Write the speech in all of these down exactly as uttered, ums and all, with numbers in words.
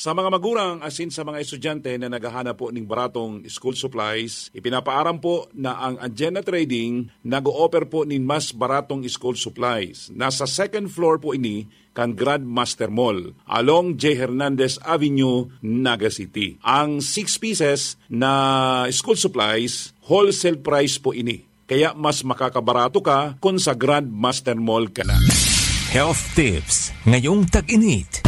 Sa mga magurang asin sa mga estudyante na naghahanap po ning baratong school supplies, ipinapaaram po na ang Agenda Trading nag-o-offer po nin mas baratong school supplies. Nasa second floor po ini kan Grandmaster Mall, along J Hernandez Avenue, Naga City. Ang six pieces na school supplies, wholesale price po ini. Kaya mas makakabarato ka kun sa Grandmaster Mall ka na. Health tips ngayong tag-init.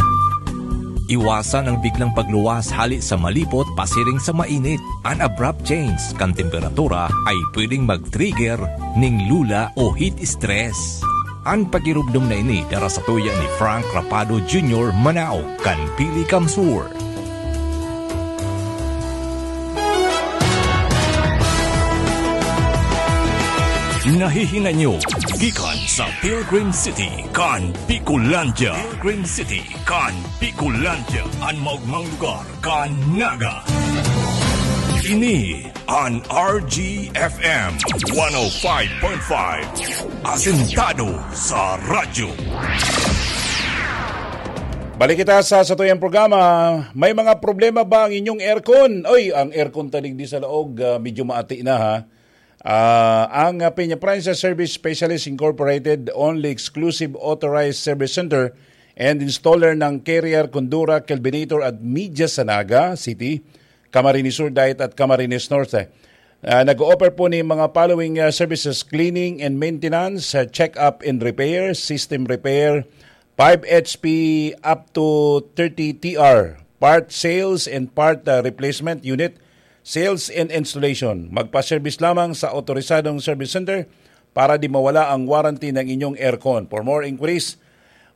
Iwasan ang biglang pagluwas hali sa malipot pasiring sa mainit. An abrupt change kan temperatura ay pwedeng mag-trigger ning lula o heat stress. An pagirumdom na ini dara sa tuya ni Frank Rapado Junior, Manao, kan Pili Kamsur. Nahihinay nyo gikan sa Pilgrim City kan Bicolandia. Pilgrim City kan Bicolandia, an maogmang lugar kan Naga. Ini an R G F M one oh five point five, asentado sa radyo. Balik kita sa satuyang programa. May mga problema ba ang inyong aircon? Oy, ang aircon ta digdi sa laog, ah, medyo maati na, ha. Ah, ang, ah, Peña Princess Service Specialist Incorporated, only exclusive authorized service center and installer ng Carrier, Condura, Kelvinator at media sa Naga City, Camarines Sur Diet at Camarines Norte. Ah, nag-o-offer po ni mga following, ah, services: cleaning and maintenance, ah, check-up and repair, system repair, five H P up to thirty T R, part sales and part, ah, replacement unit, sales and installation. Magpa-service lamang sa otorisadong service center para di mawala ang warranty ng inyong aircon. For more inquiries,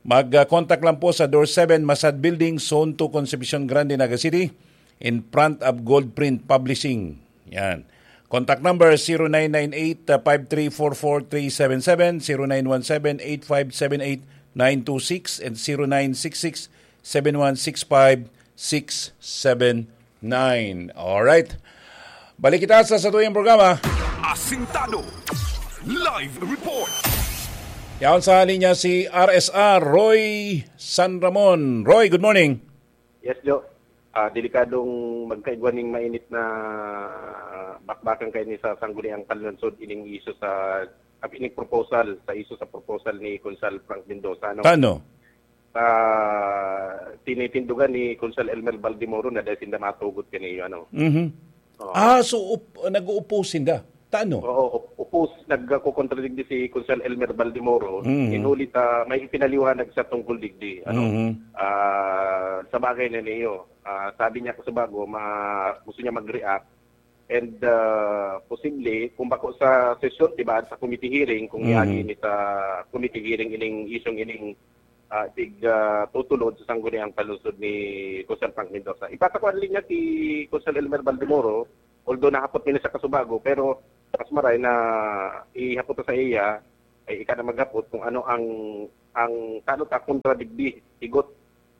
mag-, ah, contact lang po sa Door seven, Masad Building, Zone two, Concepcion Grande, Naga City, in front of Gold Print Publishing. Yan. Contact number, zero nine nine eight, five three four four three seven seven, zero nine one seven, eight five seven eight, nine two six, and zero nine six six, seven one six five, six seven nine. Alright. Balik kita sa satuyang programa. Asintado. Live report. Yaon sa linya si R S R, Roy San Ramon. Roy, good morning. Yes, Jo. Ah, delikadong magkaigwa ning mainit na bakbakan kaini sa Sangguniang Panlungsod ining isyu sa, ah, ining proposal, sa isyu sa proposal ni Konsehal Frank Mendoza, no? Tano? Sa tinitindogan ni Konsehal Elmer Baldemoro na dai sinda matugot kaniyo, ano? Mhm. Oo. Ah, so op-, nag-oppose sinda? Tano? Oo, op-, oppose, nagkokontradigdi si Konsehal Elmer Baldemoro. Mhm. Inuli ta may ipinaliwanag sa tungkol digdi, ano? Mhm. Ah, sa bagay na niyo, ah, sabi niya kasubago, ma-, gusto niya mag-react. And, ah, posible, kung bako sa sesyon, di ba, sa committee hearing, kung Mhm. iagi ini sa committee hearing ining isyung ining, ah, pig-, ah, tutulod sa Sangguniang Panlungsod ni Konsehal Frank Mendoza. Ipatakuan linya si Konsehal Elmer Baldemoro, although nahapot niya sa kasubago, pero mas maray na ihapot sa iya, ay ika na maghapot kung ano ang, ang, ano ta, kontra digdi, higot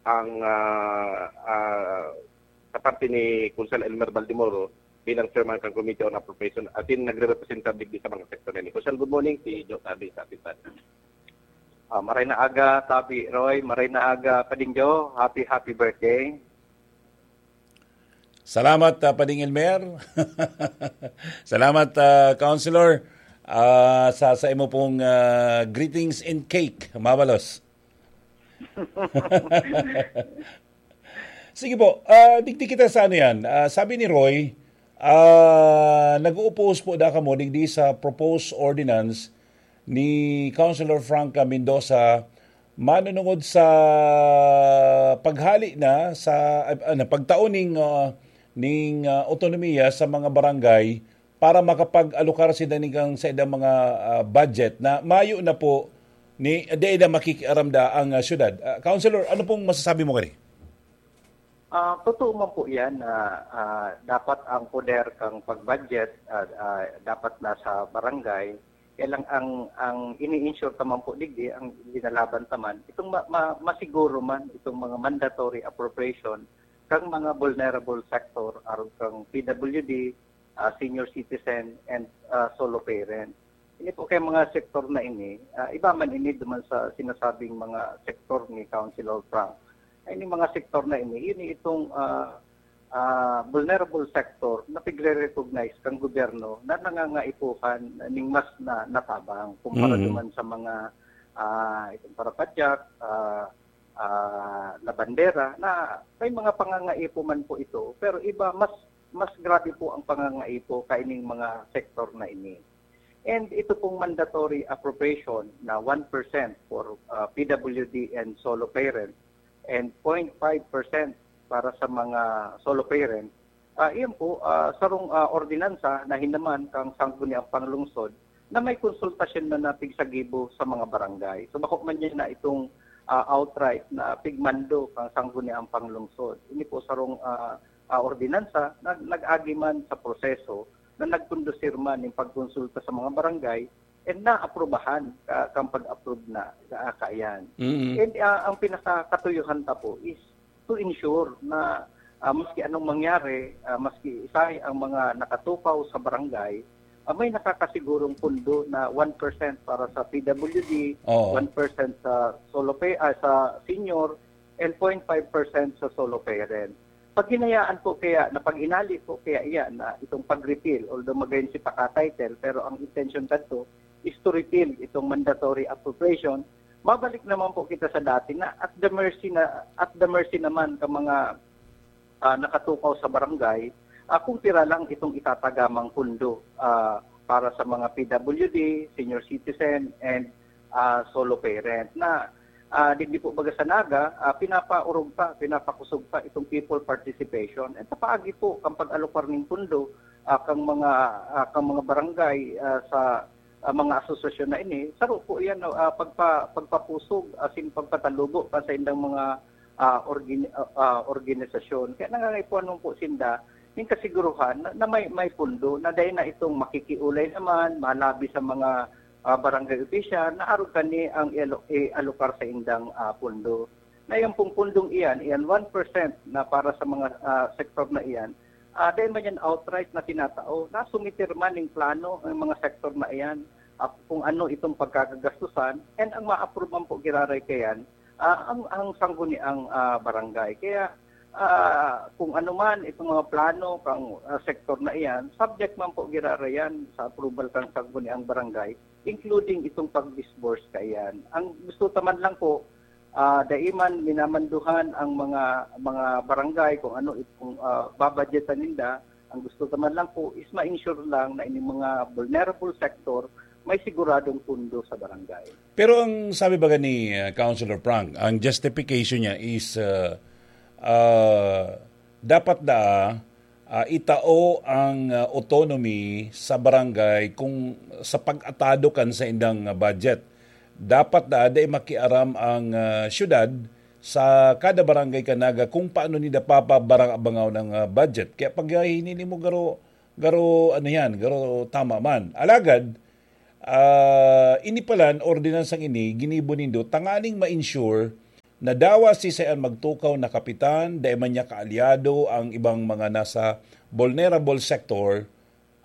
ang, ah, ah, sa parte ni Konsehal Elmer Baldemoro bilang chairman kan Committee on Appropriation, asin nagre-representa digdi sa mga sektor na ini. Konsehal, good morning, si Jo Tabi sa atin. Ah, maray na aga, Tabi Roy. Maray na aga, Pading Jo. Happy, happy birthday. Salamat, ah, Pading Elmer. Salamat, ah, Councilor, ah, sa, sa imo pong, ah, greetings and cake. Mabalos. Sige po, ah, digdi kita sa ano yan. Ah, sabi ni Roy, ah, nag-oppose po da kamo digdi sa proposed ordinance ni Councilor Franca Mendoza, manunungod sa paghali na sa, ah, ano, pagtao ning, ah, ning, ah, otonomiya sa mga barangay para makapag-alokar sila ning sa ilang mga, ah, budget na mayo na po ni, di na makikiaram da ang, ah, syudad. Ah, Councilor, ano pong masasabi mo kani? Ah, totoo man po yan na, ah, dapat ang poder kang pag-budget, ah, ah, dapat nasa barangay. Kaya lang ang, ang ini-ensure naman po digdi, ang ginalaban naman, itong ma-, ma-, masiguro man itong mga mandatory appropriation kang mga vulnerable sector, arog kang P W D, ah, senior citizen, and, ah, solo parent. Ini po kay mga sektor na ini, ah, iba man ini duman sa sinasabing mga sektor ni Councilor Frank. Ay, ning mga sektor na ini, ini itong, ah, ah, vulnerable sector na pigre-recognize kang gobyerno na nangangaipuhan ning mas na natabang kumpara Mm. naman sa mga, ah, itong parapadyak, ah, ah, labandera, na may mga pangangaipo man po ito, pero iba, mas, mas grabe po ang pangangaipo kaining mga sektor na ini. And ito pong mandatory appropriation na one percent for, ah, P W D and solo parent and point five percent para sa mga solo parent, ah, iyan po, ah, sarong, ah, ordinansa na hinaman kang Sangguniang Panglungsod na may konsultasyon na napigsagibo sa mga barangay. So, bako man yan na itong, ah, outright na pigmando kang Sangguniang Panglungsod. Ini po sarong, ah, ah, ordinansa na nag-agi man sa proseso na nagkondusir man ning pagkonsulta sa mga barangay and naaprubahan ka, kang pag-approve na sa kaiyan. Mm. And, ah, ang pinakakatuyuhan ta po is to ensure na, ah, maski anong mangyari, ah, maski isay ang mga nakatukaw sa barangay, ah, may nakakasigurong pundo na one percent para sa P W D, Oo. one percent sa solo pay, ah, sa senior, and point five percent sa solo parent. Pag hinayaan po kaya, na pag inali po kaya iyan na itong pag-repeal, although magayon si paka-title, pero ang intention kadto is to repeal itong mandatory appropriation, mabalik naman po kita sa dati na at the mercy na, at the mercy naman ka mga, ah, nakatukaw sa barangay, ah, kung pira lang itong itatagamang pundo, ah, para sa mga P W D, senior citizen, and, ah, solo parent na, ah, digdi po baga sa Naga, ah, pinapaurog pa, pinapakusog pa itong people participation. At sa paagi po, kang pag-alokar ning pundo, ah, kang mga, ah, kang mga barangay, ah, sa, ah, mga asosasyon na ini, saro po yan, ah, pagpa-, pagpapusog, asin pagpatalubo pa sa indang mga, ah, orgin-, ah, ah, organisasyon. Kaya nangangaipuhan po sinda ning kasiguruhan na, na may, may pundo na dai na itong makikiulay naman, malabi sa mga, ah, barangay opisyal na arog kani ang ialo-, ialokar sa indang, ah, pundo. Na yan pong pundong iyan, iyan one percent na para sa mga, ah, sektor na iyan, ah, dai man yan outright na tinatao. Nasumitir man ning plano ang mga sektor na iyan, ah, kung ano itong pagkakagastusan, and ang ma-approve man po giraray kayan, ah, ang, ang sangguniang, ah, barangay. Kaya, ah, kung ano man itong mga plano kang, ah, sektor na iyan, subject man po giraray yan sa approval kang sangguniang barangay, including itong pag-disburse kaiyan. Ang gusto ta man lang po, ah, dai man minamanduhan ang mga, mga barangay kung ano itong, ah, babadgetan ninda. Ang gusto ta man lang po is ma-ensure lang na ining mga vulnerable sector may siguradong pundo sa barangay. Pero ang sabi baga ni, ah, Councilor Frank, ang justification niya is, ah, ah, dapat daa, ah, itao ang, ah, autonomy sa barangay kung sa pag-atado kan sa indang, ah, budget. Dapat daa dai makiaram ang, ah, syudad sa kada barangay kan Naga kung paano nila papabarang-abangaw ng, ah, budget. Kaya pag, ah, hinili mo garo, garo ano yan, garo tama man. Alagad, ah, ini palan, ordinansang ini, ginibo nindo, tanganing ma-ensure na dawa si sayan magtukaw na kapitan, dai man niya kaalyado ang ibang mga nasa vulnerable sector,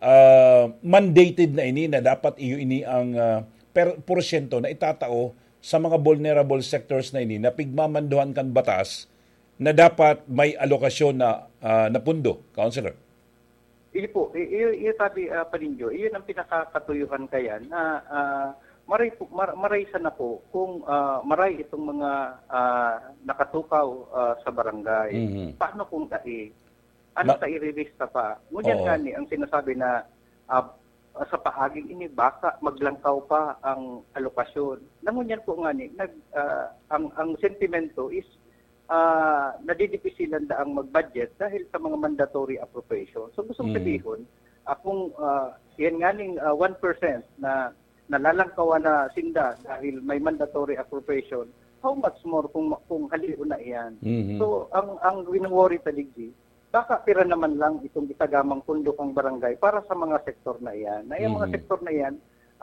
ah, mandated na ini na dapat iyo ini ang, ah, per-, porsyento na itatao sa mga vulnerable sectors na ini na pigmamanduhan kan batas na dapat may alokasyon na, ah, na pundo, Councilor. Iyo po, i-, iyo, iyo sabi, ah, Paninjo, iyon ang pinakakatuyuhan kayan na, ah, maray po, mar-, maray sana po kung, ah, maray itong mga, ah, nakatukaw, ah, sa barangay. Mhm. Paano kung dai? Ano Ma- sa irirista pa? Ngunyan Oo. Nga ni, ang sinasabi na, ah, sa paaging ini, baka maglangkaw pa ang alokasyon. Na ngunyan po nga ni, nag-, ah, ang, ang sentimento is, ah, nadidipisilan daang mag-budget dahil sa mga mandatory appropriation. So, gustong Mm. sabihin, ah, kung, ah, yan nga ning, ah, one percent na nalalangkawan na sinda dahil may mandatory appropriation, how much more kung, kung halion na iyan? Mhm. So, ang, ang wino-worry ta digdi, baka pira naman lang itong gitagamang pundo kang barangay para sa mga sektor na iyan. Na yung mga Mhm. sektor na iyan,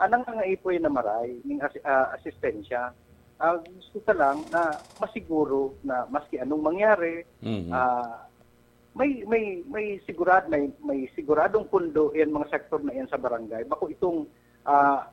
ah, nangangaipo yan na maray, ning as-, ah, asistensya. Ah, gusto ta lang na masiguro na maski anong mangyari, Mhm. ah, may, may, may sigurad-, may, may siguradong pundo yan mga sektor na yan sa barangay. Bako itong, ah,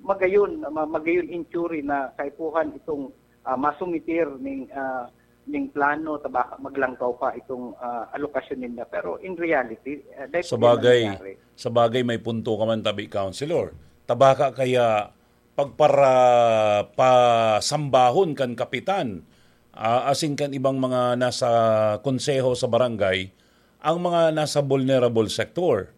magayon, ma-, magayon injury na kaipuhan itong, ah, masumitir ning, ah, ning plano, tabaka maglangkaw pa itong, ah, alokasyon ninda. Pero in reality, ah, dai po yan Sabagay, nangyayari. sabagay may punto ka man, tabi Councilor. Tabaka kaya pagpara-, pasambahon kan kapitan, ah, asin kan ibang mga nasa konseho sa barangay, ang mga nasa vulnerable sector.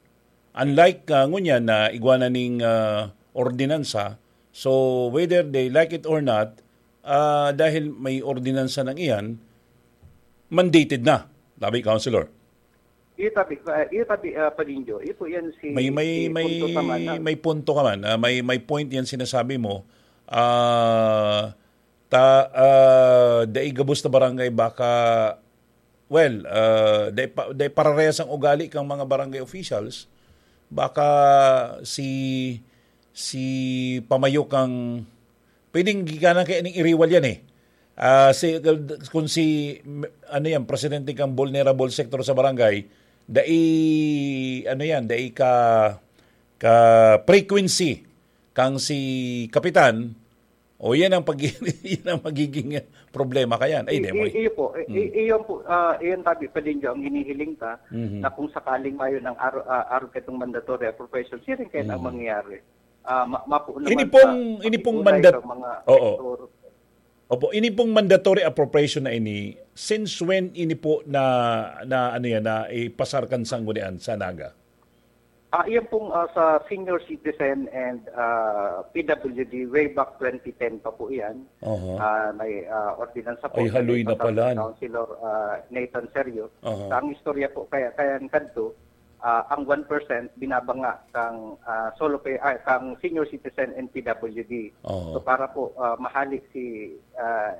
Unlike, ah, ngunyan na igwa na ning, ah, ordinansa, so whether they like it or not, ah, dahil may ordinansa nang iyan, mandated na, tabi, Councilor. Iyo tabi, ah, iyo tabi, ah, Padinjo. Iyo po yan si, May may si may punto sa mana. may punto ka man. Ah, may may point yan sinasabi mo. Ah, ta ah, dai gabos na barangay baka, well, ah, dai pa, dai pararehas ang ugali kang mga barangay officials. Baka si si pamayo kang pwedeng gikanan kaya ning iriwal yan eh. Ah, si, kung si, ano yan, presidente kang vulnerable sector sa barangay, dai, ano yan, dai ka, ka frequency kang si kapitan, o yan ang pag yan ang magiging problema kayan. Ay, I- demo. i- iyo po, i- i- iyon po, ah, iyon tabi Padinjo ang hinihiling ta Mhm. na kung sakaling mayon ang aro, ah, aro ketong mandatory appropriation, siring kayo ang Mhm. mangyayari. Ah, ma- mapo naman Ini pong sa ini pong pakiulay mandat sa mga Oo. sektor. Opo, ini pong mandatory appropriation na ini, since when ini po na na ano yan, na ipasar kan sanggunian sa Naga? Ah, iyan pong ah, sa senior citizen and ah, P W D way back twenty ten pa po iyan. Oho. Ah, may ah, ordinansa po Ay, haloy na ipasar pala, ni no? Councilor ah, Nathan Sergio. Oho. Sa ang istorya po kaya kaya kadto, ah, ang one percent binabanga kang ah, solo pay ah, kang senior citizen and P W D. Oho. So para po ah, mahali si ah,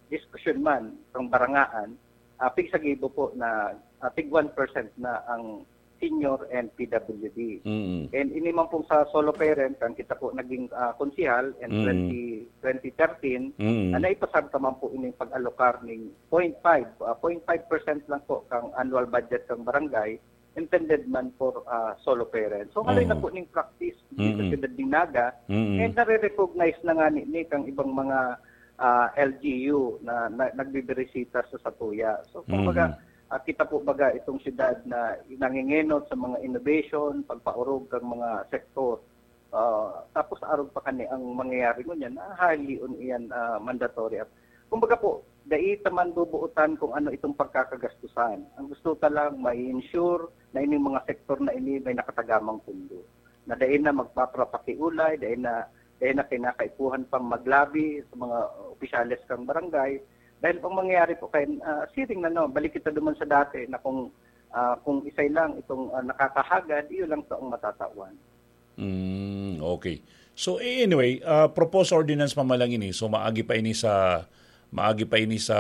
diskusyon man kang barangaan, ah, pigsagibo po na ah, tig one percent na ang senior and P W D. Mm. And ini man pong sa solo parent, kan kita po naging ah, konsehal in Mm. twenty, twenty thirteen, Mm. na naipasar ta man po ining pag-alokar ning point five, ah, point five percent lang po kang annual budget kang barangay, intended man for ah, solo parent. So, haloy na Oo. po ning practice dito sa Mm. siyudad ng Naga, Mm. and nare-recognize na nga ni, ni kang ibang mga ah, L G U na, na nagbibirisita sa satuya. So, kumbaga, Mm. ah, kita po baga itong siyudad na nangingenot sa mga innovation, pagpaorog kang mga sektor. Ah, tapos arog pa kani ang mangyayari ngunyan, ah, highly on iyan ah, mandatory. At kumbaga po, dai ta man bubuotan kung ano itong pagkakagastusan. Ang gusto ta lang, ma-ensure na ining mga sektor na ini may nakatagamang pundo. Na dai na magpapapakiulay, dai na, dai na kinakaipuhan pang maglabi sa mga opisyales kang barangay. Dahil ang mangyayari po kay ah, siring na no, balik kita duman sa dati na kung ah, kung isay lang itong ah, nakakahagad, iyo lang to ang matatawan. Mm, okay. So anyway, ah, proposed ordinance pa man lang ini. So maagi pa ini sa maagi pa ini sa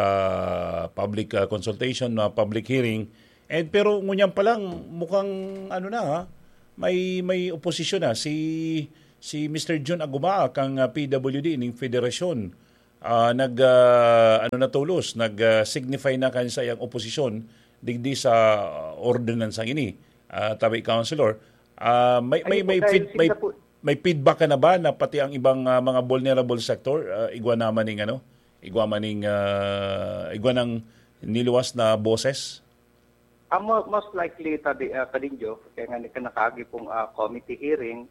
public ah, consultation, na public hearing. And pero ngunyan pa lang mukhang ano na ha, may may oposisyon na si si Mister Jun Aguma kang ah, P W D ning federasyon. Ah, nag ah, ano na tolos, nag ah, signify na kan sa iyang oposisyon digdi sa ah, ordinansang ini. Ah, tabi, Councilor, ah, may may Ayun po, may, dahil feed, may sila po may feedback ka na ba na pati ang ibang ah, mga vulnerable sector ah, igwa naman ning ano, igwa man ning ah, igwa ng niluwas na boses? Ah, mo- most likely, tabi, ah, Kadinjo, kaya nga nika nakaagi pong ah, committee hearing,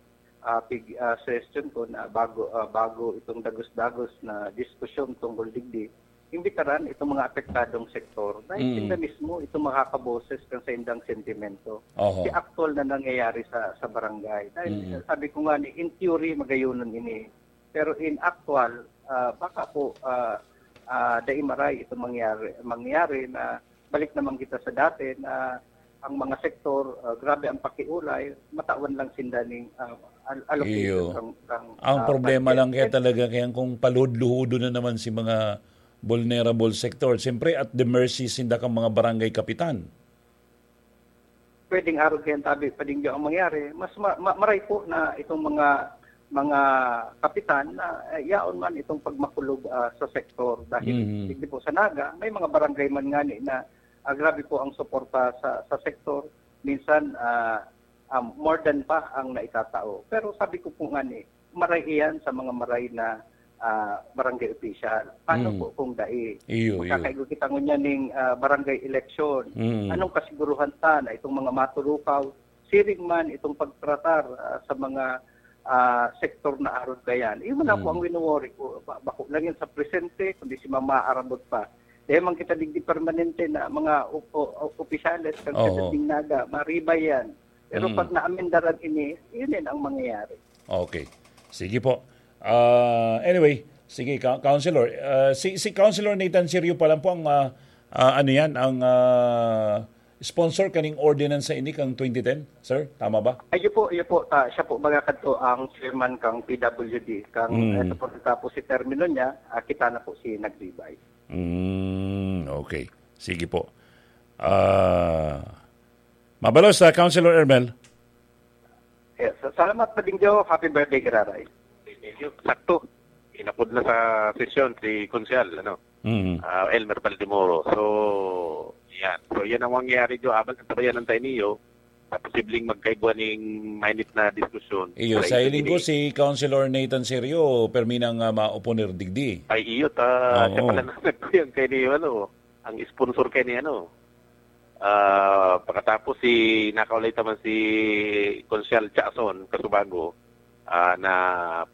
ah, pig, ah, suggestion ko na bago ah, bago itong dagos-dagos na diskusyon tungkol digdi, imbitaran itong mga apektadong sektor dahil Mm. sila mismo itong makakaboses kan sa indang sentimento. Oho. Si aktual na nangyayari sa sa barangay. Dahil Mm. sabi ko nga ni, in theory, magayonon ini. Pero in actual, ah, baka po ah, ah, dai maray itong mangyari, mangyari na balik naman kita sa dati na ang mga sektor, ah, grabe ang pakiulay, matawan lang sinda ning ah, al- allocation Iyo. kang, kang, Ang ah, problema budget. lang kaya And talaga kaya kung paludluhudo na naman si mga vulnerable sector. Siyempre, at the mercy sinda kang mga barangay kapitan. Pwedeng arog kaya tabi, Padingyo, ang mangyari. Mas ma- ma- maray po na itong mga mga kapitan na eh, yaon man itong pagmakulog ah, sa sektor dahil Mhm. hindi po sa Naga, may mga barangay man nga ni na ah, grabe po ang suporta sa sa sektor. Minsan ah, ah, more than pa ang naitatao. Pero sabi ko po nga ni, maray iyan sa mga maray na ah, barangay official. Paano Mm. po kung dai? Iyo, iyo. Magkakaigo kita ngunyan ning, ah, barangay election. Mm. Anong kasiguruhan ta na itong mga maturukaw, siring man itong pagtratar, ah, sa mga, ah, sektor na arog kayan? Iyo man ako Mm. ang wino-worry ko. Ba-, bako lang yan sa presente, kundi si mama arabot pa. Dahil man kita digdi permanente na mga op-, o-, o-, opisyales, kan Oo. Presidente Naga, maribay yan. Pero Mm. pag naamendaran ini, yun din ang mangyayari. Okay. Sige po. Ah, anyway, sige, Ka-, Councilor. Ah, si, si Councilor Nathan Sirio pa lang po ang, ah, ah, ano yan, ang, ah, sponsor kaning ordinance sa ini kang twenty ten, sir? Tama ba? Ayun po, ayun po. Ta, siya po mga kadto ang chairman kang P W D. Kang, Mm. eh, sa pagkatapos si termino niya, ah, kita na po si nagribay. Mm, okay. Sige po. Ah, mabalos sa Councilor Ermel. Yes, salamat, Pading Joe. Happy birthday, Giraray. Sakto. Inapod na sa sesyon si Konsehal, ano, Mm. ah, Elmer Baldemoro. So, yan. So, yan ang mangyayari, Joe. Abang ang tabayan ng tayo niyo. Sa posibleng magkaigwa ning mainit na diskusyon. Iyo, sa sa isang linggo, ini. Si Councilor Nathan Serio, permi nang, ah, mauponer digdi. Ay, iyo, ta, Oo. Siya pala na nagkuyang kay ni, ano, ang sponsor kay ni, ano. Ah, pagkatapos si, nakaulay taman si Konsehal Jackson Casubago, ah, na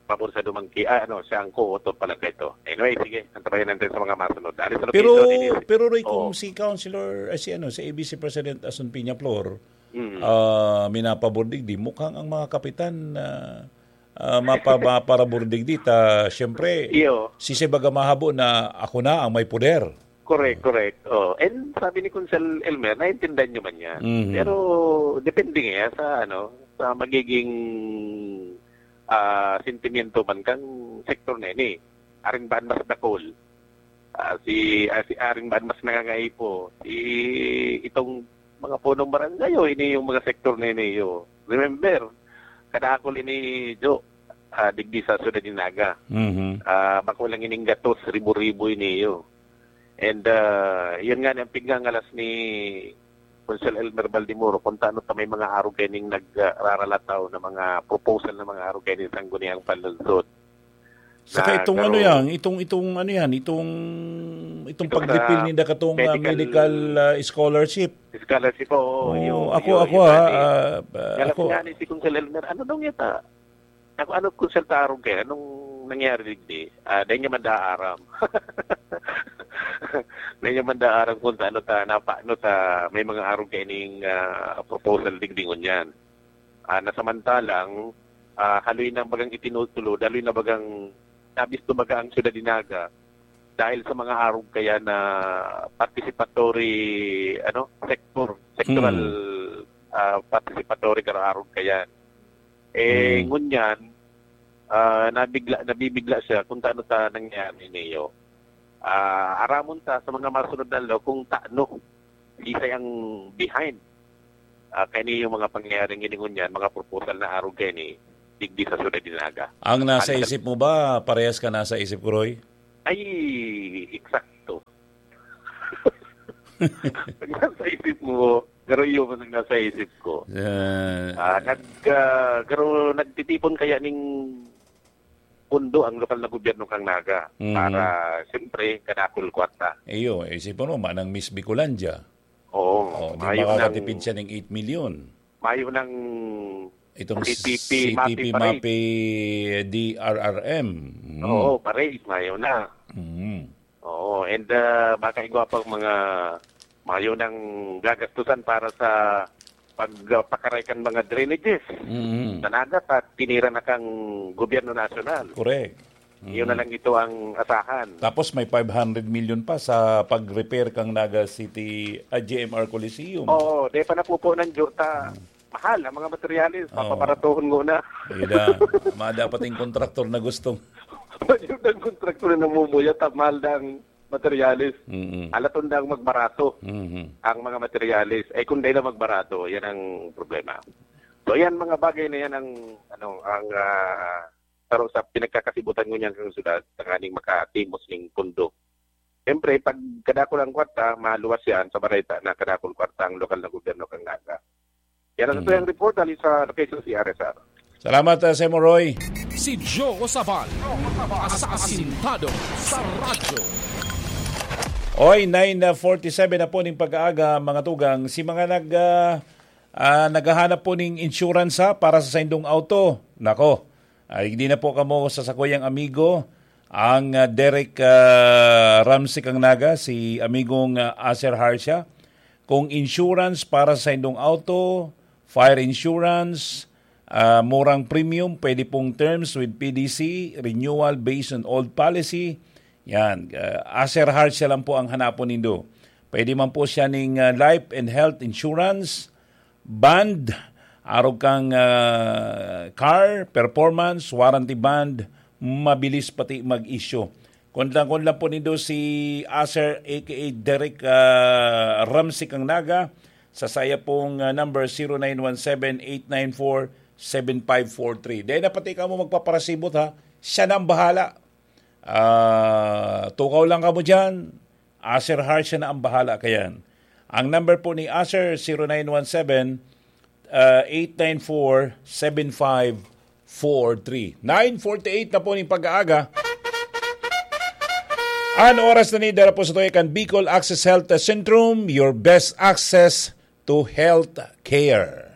pabor sa dumangki, ah, ano, siya ang co-author pala dito. Anyway, sige, antabayan natin sa mga masunod. Alis sa Pero, location, inis- pero Roy, kung Oo. Si Councilor, eh, si, ano, si A B C President Asun Peñaflor, Mm. ah, minapabor digdi, mukhang ang mga kapitan, ah, ah, mapa-, maparabor digdi, ta, siyempre, Iyo. Si Sebaga mahabo na ako na ang may poder. Correct, correct. Oh, and sabi ni Kunsel Elmer, naintindihan nyo man yan. Mhm. Pero depende nga sa, ano, sa magiging, ah, sentimiento man kang sektor na ini. Aring baan mas dakol? Ah, si, ah, si aring baan mas nangangaipo? Si itong mga punong barangay o ini yung mga sektor na ini? Yo? Remember, kadakol ini, Jo, ah, digdi sa Ciudad de Naga. Mhm. Ah, makulang ining gatos, ribo-ribo ini, yo. And, ah, yun nga, ang pigngangalas ni Kunsel Elmer Baldemoro, kung taano ta may mga arog kaining nagraralataw na mga proposal na mga arog kaining Sangguniang Panlungsod. Saka Na itong garo- ano yan, itong, itong ano yan, itong, itong Itong pagdipil sa ninda katong, ah, medical medical, ah, scholarship. Scholarship, oo, Oo, yun, ako, yun, ako, yun, ah, yun. Ah, ah, Galas ako. Nga ni si Kunsel Elmer, ano daw yata? Ako, ano, Kunsel, ta arog kaya? Anong nangyari digdi? Ah, dahil niya mandaaram. Dahil niya mandaaram kung ano ta, na, paano ta, may mga arog kaya ning, ah, proposal digdi ngunyan. Ah, na samantalang, ah, haloy na bagang itinutulod, haloy na bagang nabisto baga ang Ciudad de Naga dahil sa mga arog kaya na participatory, ano, sector, sectoral, Hmm. ah, participatory karo arog kaya. Eh, Hmm. ngunyan, ah, nabigla, nabibigla siya kung taano ta nangyari niyo. Ah, aramon ta sa mga masunod na law kung taano, isay ang behind. Ah, kani yung mga pangyayaring ini ngunyan, mga proposal na arog kani, digdi sa Ciudad de Naga. Ang nasa Ang isip mo ba, parehas ka nasa isip ko, Roy? Ay, eksakto. Ang nasa isip mo, pero yun ang nasa isip ko. Ah. Ah, nag-, ah, pero nagtitipon kaya ning pundo ang lokal na gobyerno kang Naga Mhm. para, siyempre, kadakol kwarta. Iyo, isipon mo, manang Miss Bicolandia. Oo, Oh, di mayo makakatipid ng siya ng eight million. Mayo ng Itong C T P, C T P, MAPI, parade. MAPI, D R R M. Mm. Oo, parade, mayo na. Mm. Oo, and, ah, baka igwa pang mga mayo nang gagastusan para sa pagpakaray kan mga drainages Mm. sa Naga at tinira na kang gobyerno nasyonal. Correct. Yun Mm. na lang ito ang asahan. Tapos may five hundred million pa sa pag-repair kang Naga City, ah, G M R Coliseum. Oo, di pa napupunan, Jota. Mm. Mahal ang mga materyales, Oo. Papabaratuhon mo na. Ayun na. Mga dapat yung kontraktor na gustong Ayun ang kontraktor na namumuya, ta mahal na ang materyales. Mm-mm. Alaton na ang magbarato Mm-hmm. ang mga materyales. Eh, kung dahil na magbarato, yan ang problema. So, yan, mga bagay na yan ang, ano, ang, ah, saro sa pinagkakasibutan ngunyan sa syudad, tanganing makatimos ning pundo. Siyempre, pag kadakul ang kwarta, maluwas yan sa bareta na kadakul kwarta ang lokal na gobyerno kang Naga. Yan ang Mm. satuyang report, dali sa location C R S R. Salamat, ah, Semo Roy. Si Joe Sabal, asasintado sa radyo. Oy, nine forty-seven na po ning pag-aaga, mga tugang. Si mga nag, ah, ah, naghahanap po ning insurance, ha, para sa saindong auto. Nako, ay, hindi na po kamo sa sakuyang amigo, ang, ah, Derek, ah, Ramsey Kangnaga, si amigong, ah, Aser Harsha. Kung insurance para sa saindong auto, fire insurance, ah, murang premium, pwede pong terms with P D C, renewal based on old policy. Yan, ah, Aser Harsha lang po ang hanapon nindo. Pwede man po siya ning, ah, life and health insurance, bond, arog kang, ah, car, performance, warranty bond, mabilis pati mag-issue. Kundang-kundang po nindo si Aser, A K A Derek, ah, Ramsey Kangnaga, sa saya pong, ah, number, zero nine one seven, eight nine four, seven five four three. Dahil na pati kamo magpaparasibot, ha, siya na ang bahala. Ah, tukaw lang kamo dyan. Aser Harsha na ang bahala kayan. Ang number po ni Aser, zero nine one seven, ah, eight nine four, seven five four three. Nine forty-eight na po ning pag-aaga. An oras na ni, dara po sa tuya kan Bicol Access Health Centrum, your best access to health care.